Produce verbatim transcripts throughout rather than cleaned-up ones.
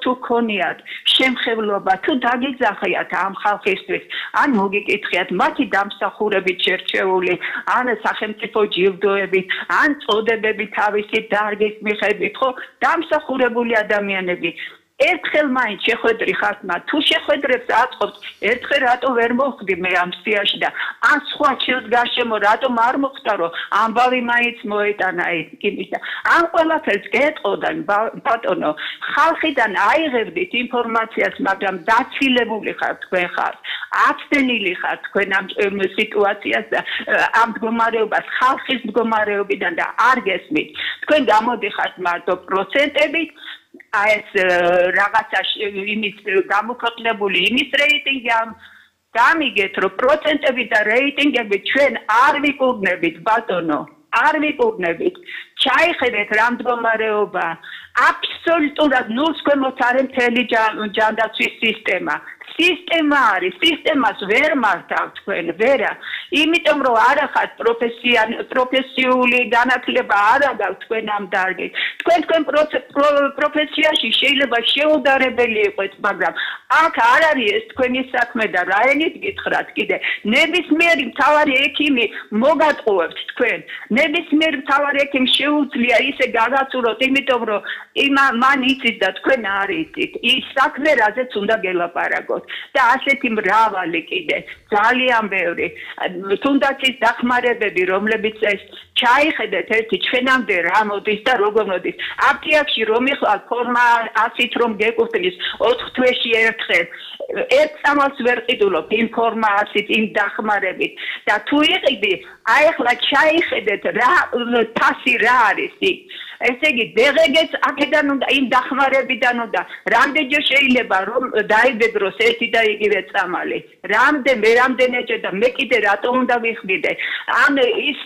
თუ გქონიათ შემხებლობა თუ დაგიძახიათ ამ ხალხისთვის ან მოგიკითხიათ მათი დამსახურებით შერჩეული ან სახელმწიფო ჯილდოებით ან წოდებებით თავისი დარგის მიხედვით ხო დამსახურებული ადამიანები ერთხელ მაინც შეხვედრი ხართ მათ თუ შეხვედრებს აწყობთ ერთხელ რატო ვერ მოხდი მე ამ სიაში და ან სხვა ჩილს გარშემო რატომ არ მოხდა რომ ამბავი მაინც მოეტანა იმის და ამ ყველაფერს გეტყოდა ბატონო ხალხიდან აიღებდით ინფორმაციას მაგრამ დაცილებული ხართ თქვენ ხართ აცდენილი ხართ თქვენ ამ სიტუაციას და ამ მდგომარეობას ხალხის მდგომარეობიდან და არ გესმით თქვენ გამოდიხართ მარტო პროცენტებით აი ეს რაღაცა იმის გამოქვეყნებული იმის რეიტინგი ამ გამიგეთ რომ პროცენტები და რეიტინგები ჩვენ არ ვიკურნებით ბატონო არ ვიკურნებით ჩაიხედეთ რა მდგომარეობა აბსოლუტურად ნულს ქვემოთ არის მთელი ჯანდაცვის სისტემა სისტემა არის სისტემას ვერ მართავთ თქვენ ვერა იმიტომ რომ არ ახართ პროფესიული განათლება არ აქვს თქვენ ამ დარგით თქვენ თქვენ პროფესიაში შეიძლება შეუდარებელი იყოთ მაგრამ აქ არ არის ეს თქვენი საქმე და რაენით გითხრათ კიდე ნებისმიერი მთავარი ექიმი მოგატყუებთ თქვენ ნებისმიერი მთავარი ექიმი შეუძლია ისე გაგაცუროთ იმიტომ რომ იმა მან იცით და თქვენ არ იცით ის საქმე რაზეც უნდა გელაპარაკოთ და ასეთი მრავალი კიდე ძალიან ბევრი თუნდაც ის დახმარებები რომლებიც ეს ჩაიხედეთ ერთი ჩვენამდე რა მოდის და როგორ მოდის აფთიაქში რომ იხვალ ფორმა ასით რომ გეკუთვნის ოთხ თვეში ერთხელ ერთ წამალს ვერ ყიდულობ იმ ფორმაციით იმ დახმარებით და თუ იყიდი აი ახლა ჩაიხედეთ რა თასი რა არის იქ ესე იგი დღეგეც აქედან უნდა იმ დახმარებიდან უნდა რამდენჯერ შეიძლება რომ დაიბედროს ერთი და იგივე წამალი რამდენ მე რამდენჯერ და მე კიდე რატომ უნდა ვიხდიდე ან ის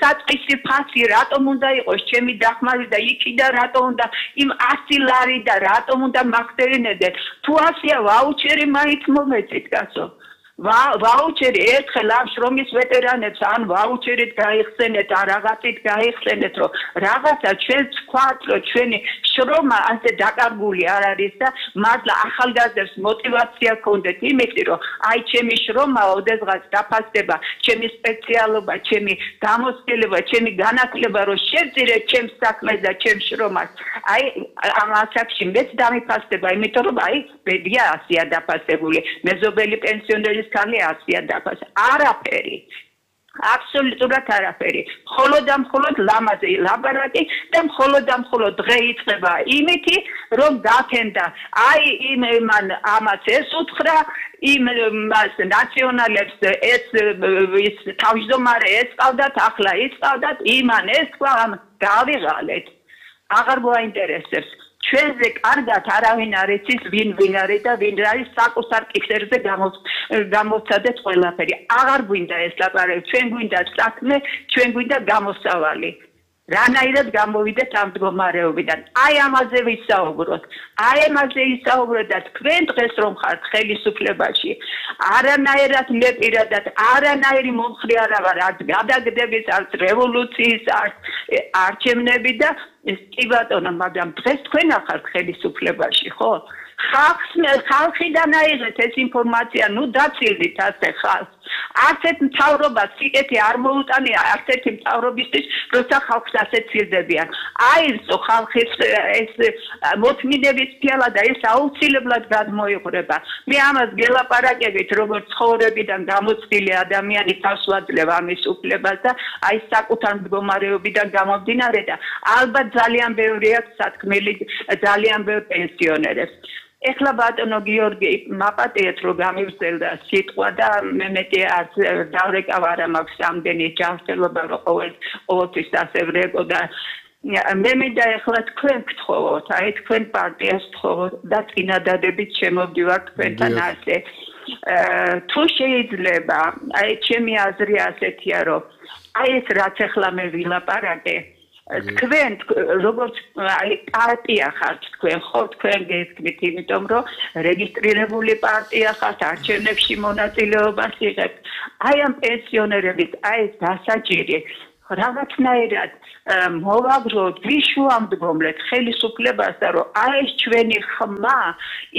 საწყისი ფასი რატომ უნდა იყოს ჩემი დახმარი და იქიდა რატომ უნდა იმ ასი ლარი და რატომ უნდა მაგდერინედე თუ ასია ვაუჩერი მაინც მომეწით კაცო ვაუჩერი ერთხელ ამ შრომის ვეტერანებს ან ვაუჩერით გაიხსენეთ ან რაღაცით გაიხსენეთ რომ რაღაცა ჩვენ თქვათ რომ ჩვენი შრომა ასე დაკარგული არ არის და მართლა ახალგაზრდებს мотиваცია გქონდეთ იმითი რომ აი ჩემი შრომა ოდესღაც დაფასდება ჩემი სპეციალობა ჩემი გამოცდილება ჩემი განათლება რომ შევწირეთ ჩემს საქმეს და ჩემს შრომას აი ამ ასაკში მეც დამიფასდება იმიტომ რომ აი ბედია ასია დაფასებული მეზობელი პენსიონერის კალი ასია დაფას არაფერი აბსოლუტურად არაფერი მხოლოდ და მხოლოდ ლამაზი ლაბარაკი და მხოლოდ და მხოლოდ დღე იწყება იმითი რომ გაქენდა აი იმ მან ამას ეს უთხრა იმ მას ნაციონალებს ეს ის თავმჯდომარე ეს ყავდათ ახლა ის ყავდათ იმან ეს თქვა გავიღალეთ აღარ მოაინტერესებს ჩვენზე კარგად არავინ არ იცის ვინ ვინ არის და ვინ არის საკუთარ კისერზე გამოცადეთ ყველაფერი აღარ გვინდა ეს ლაპარაკი ჩვენ გვინდა საქმე ჩვენ გვინდა გამოსავალი რანაირად გამოვიდეთ ამ მდგომარეობიდან აი ამაზე ვისაუბროთ აი ამაზე ვისაუბროთ და თქვენ დღეს რომ ხართ ხელისუფლებაში არანაირად მე პირადად არანაირი მომხრე არა ვარ არც გადაგდების არც რევოლუციის არც არჩევნები და კი ბატონო მაგრამ დღეს თქვენ ახართ ხელისუფლებაში ხო ხალხს ხალხიდან აიღეთ ეს ინფორმაცია ნუ დაცილდით ასე ხალხს არც ერთ მთავრობას სიკეთე არ მოუტანია არც ერთი მთავრობისთვის როცა ხალხს ასე ცილდებიან აირწო ხალხის ეს მოთმინების ფიალა და ეს აუცილებლად გადმოიღრება მე ამას გელაპარაკებით როგორც ცხოვრებიდან გამოცდილი ადამიანი თავს ვაძლევ ამის უფლებას და აი საკუთარ მდგომარეობიდან გამომდინარე და ალბათ ძალიან ბევრი აქვს სათქმელი ძალიან ბევრ პენსიონერებს ეხლა ბატონო გიორგი მაპატიეთ რომ გამივსელდა სიტყვა და მე მეტი არც დავრეკავ არა მაქვს ამდენი ჯანმრთელობა რომ ყოველ ყოველთვის ასე ვრეკო და მე მინდა ეხლა თქვენ გთხოვოთ აი თქვენ პარტიას გთხოვოთ და წინადადებით შემოვდივარ თქვენთან ასე თუ შეიძლება აი ჩემი აზრი ასეთია რომ აი ეს რაც ეხლა მე ვილაპარაკე თქვენ როგორც აი პარტია ხართ თქვენ ხო თქვენ გესმით იმიტომ რომ რეგისტრირებული პარტია ხართ არჩევნებში მონაწილეობას იღებთ აი ამ პენსიონერების აი ეს დასაჭირი რაღაცნაირად მოვაგროთ, ვიშუამდგომლეთ ხელისუფლებას და რომ აი ეს ჩვენი ხმა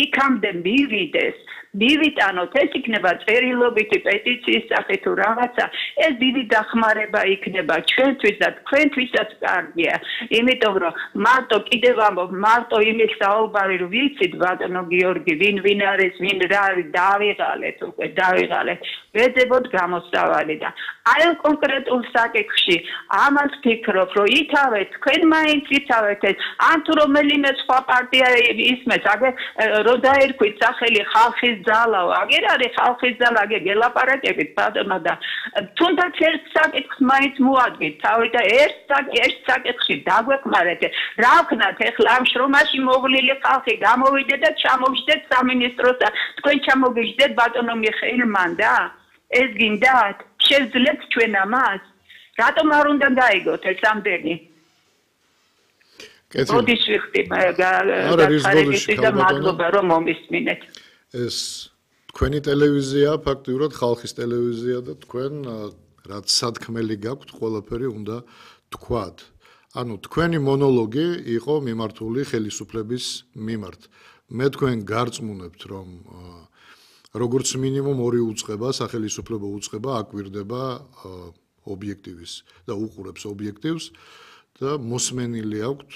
იქამდე მივიდეს, მივიტანოთ, ეს იქნება წერილობითი პეტიციის სახით თუ რაღაცა, ეს დიდი დახმარება იქნება ჩვენთვის და თქვენთვისაც კარგია, იმიტომ რომ მარტო კიდევ ამბობ, მარტო იმის საუბარი რომ ვიცით ბატონო გიორგი, ვინ ვინ არის, ვინ რა არის, დავიღალეთ უკვე, დავიღალეთ. ვეძებოთ გამოსავალი და აი კონკრეტულ საკითხში ამას ფიქრობ, რომ ითავეთ, თქვენ მაინც ითავეთ ეს, ან თუ რომელიმე სხვა პარტია ისმეს, აგერ რო დაერქვით სახელი ხალხის ძალაო, აგერ არის ხალხის ძალა, აგერ გელაპარაკებით ბატონო და თუნდაც ერთ საკითხს მაინც მოადგით, თავი და ერთ ერთ საკითხში დაგვეხმარეთ. რა ვქნათ ეხლა ამ შრომაში მოვლილი ხალხი გამოვიდეთ და ჩამოვიჯდეთ სამინისტროს და თქვენ ჩამოგიჯდეთ ბატონო მიხეილმან და ეს გინდათ? შევძლებთ ჩვენ ამას? რატომ არ უნდა გაიგოთ ეს ამდენი? მოდის ვიხდი გახარებისთვის და მადლობა რომ მომისმინეთ. ეს თქვენი ტელევიზია, ფაქტიურად ხალხის ტელევიზია და თქვენ რაც სათქმელი გაქვთ, ყველაფერი უნდა თქვათ. ანუ თქვენი მონოლოგი იყო მიმართული ხელისუფლების მიმართ. მე თქვენ გარწმუნებთ, რომ როგორც მინიმუმ ორი უწყება, სახელისუფლებო უწყება აკვირდება ობიექტივის და უყურებს ობიექტივს და მოსმენილი აქვთ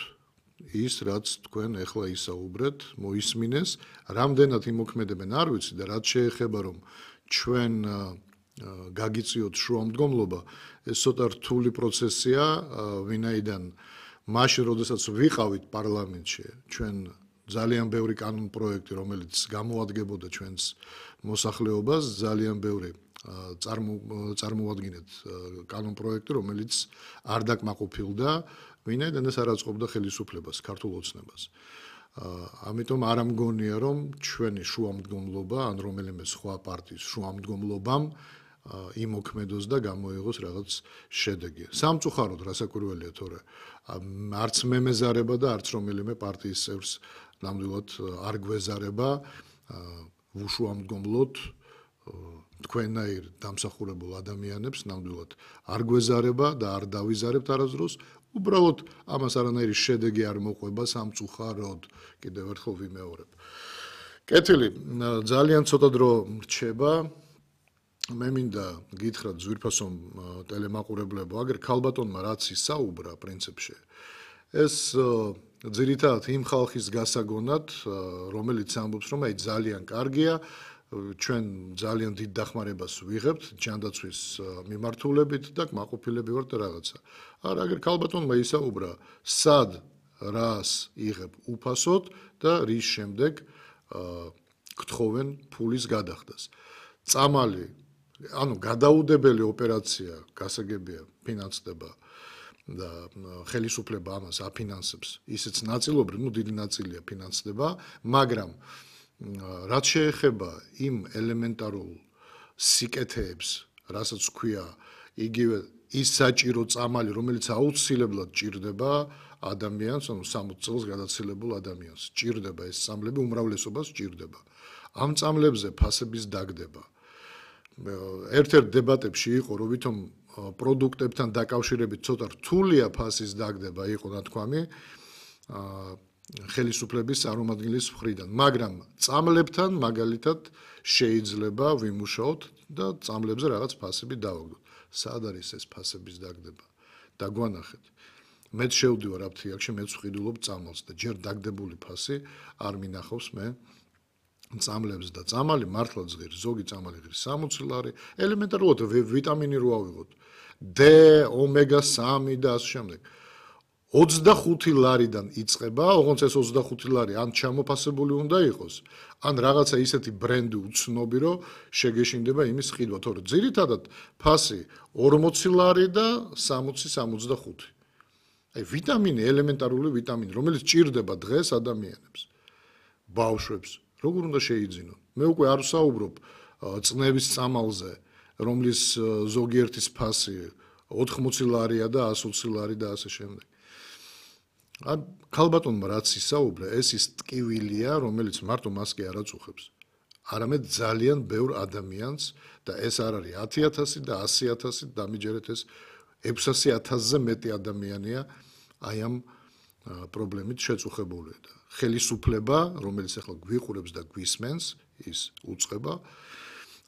ის, რაც თქვენ ეხლა ისაუბრეთ, მოისმინეს, რამდენად იმოქმედებენ არ ვიცი და რაც შეეხება რომ ჩვენ გაგიწიოთ შუამდგომლობა, ეს ცოტა რთული პროცესია, ვინაიდან მაშინ, როდესაც ვიყავით პარლამენტში, ჩვენ ძალიან ბევრი კანონ პროექტი, რომელიც გამოადგებოდა ჩვენს მოსახლეობას, ძალიან ბევრი წარმოუადგინეთ კანონ პროექტი, რომელიც არ დაკმაყოფილდა, ვინაიდან ეს არ აწყობდა ხელისუფლებას, ქართულ ოცნებას. ამიტომ არ ამგონია, რომ ჩვენი შუამდგომლობა, ან რომელიმე სხვა პარტიის შუამდგომლობამ იმოქმედოს და გამოიღოს რაღაც შედეგი. სამწუხაროდ რასაკვირველია, თორე არც მე მეზარება და არც რომელიმე პარტიის წევრს ნამდვილად არ გვეზარება უშუამდგომლოდ თქვენაირ დამსახურებულ ადამიანებს ნამდვილად არ გვეზარება და არ დავიზარებთ არასდროს. უბრალოდ ამას არანაირი შედეგი არ მოყვება სამწუხაროდ. კიდევ ერთხელ ვიმეორებ. კეთილი, ძალიან ცოტა დრო რჩება. მე მინდა გითხრათ ძვირფასო ტელემაყურებლებო, აგერ ქალბატონმა რაც ისაუბრა პრინციპში, ეს ძირითადად იმ ხალხის გასაგონად, რომელიც ამბობს, რომ აი ძალიან კარგია, ჩვენ ძალიან დიდ დახმარებას ვიღებთ ჯანდაცვის მიმართულებით და კმაყოფილები ვართ და რაღაცა. არა, აგერ ქალბატონმა ისაუბრა, სად რას იღებ უფასოდ და რის შემდეგ გთხოვენ ფულის გადახდას. წამალი, ანუ გადაუდებელი ოპერაცია გასაგებია ფინანსდება და ხელისუფლება ამას აფინანსებს, ისიც ნაწილობრივ, ну დიდი ნაწილია ფინანსდება, მაგრამ რაც შეეხება იმ ელემენტარულ სიკეთეებს, რასაც ქვია იგივე ის საჭირო წამალი, რომელიც აუცილებლად ჭირდება ადამიანს, ანუ სამოცი წელს გადაცილებულ ადამიანს, ჭირდება ეს წამლები, უმრავლესობას ჭირდება. ამ წამლებზე ფასების დაგდება. ერთ-ერთ დებატებში იყო, რომ ვითომ პროდუქტებთან დაკავშირებით ცოტა რთულია ფასის დაგდება, იყო ნათქვამი ხელისუფლების წარმომადგენლის მხრიდან, მაგრამ წამლებთან მაგალითად შეიძლება ვიმუშაოთ და წამლებზე რაღაც ფასები დავაგდოთ. სად არის ეს ფასების დაგდება? დაგვანახეთ. მეც შევდივარ აფთიაქში, მეც ვყიდულობ წამალს და ჯერ დაგდებული ფასი არ მინახავს მე წამლებს და წამალი მართლა ზღირს, ზოგი წამალი ღირს სამოცი ლარი, ელემენტარულად ვიტამინი რო ავიღოთ, D, ომეგა სამი და ასე შემდეგ. ოცდახუთი ლარიდან იწყება, ოღონდ ეს ოცდახუთი ლარი ან ჩამოფასებული უნდა იყოს, ან რაღაცა ისეთი ბრენდი უცნობი, რომ შეგეშინდება იმის ყიდვა, თორე ძირითადად ფასი ორმოცი ლარი და სამოცი სამოცდახუთი. აი ვიტამინი, ელემენტარული ვიტამინი, რომელიც ჭირდება დღეს ადამიანებს, ბავშვებს, როგორ უნდა შეიძინონ? მე უკვე არ ვსაუბრობ წნევის წამალზე, რომლის ზოგიერთის ფასი ოთხმოცი ლარია და ასი ოცი ლარი და ასე შემდეგ. ან ქალბატონმა რაც ისაუბრა, ეს ის ტკივილია, რომელიც მარტო მას კი არ აწუხებს. არამედ ძალიან ბევრ ადამიანს და ეს არ არის ათი ათასი და ასი ათასი, დამიჯერეთ ეს ექვსასი ათასზე მეტი ადამიანია აი ამ პრობლემით შეწუხებული და ხელისუფლება, რომელიც ახლა გვიყურებს და გვისმენს, ის უწყება,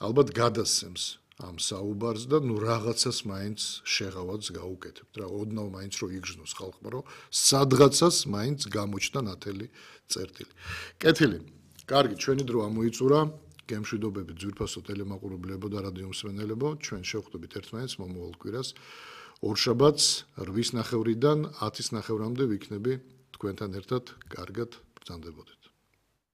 ალბათ გადასცემს ამ საუბარს და ნუ რაღაცას მაინც შეღავაც გაუკეთებთ რა, ოდნავ მაინც რო იგრძნოს ხალხმა, რომ სადღაცას მაინც გამოჩნდა ნათელი წერტილი. კეთილი. კარგი, ჩვენი დრო ამოიწურა. გემშვიდობები ძვირფასო ტელემაყურებლებო და რადიო მსმენელებო, ჩვენ შევხვდებით ერთმანეთს მომავალ კვირას. ორშაბათს რვის ნახევრიდან ათის ნახევრამდე ვიქნები თქვენთან ერთად. კარგად ბრძანდებოდეთ.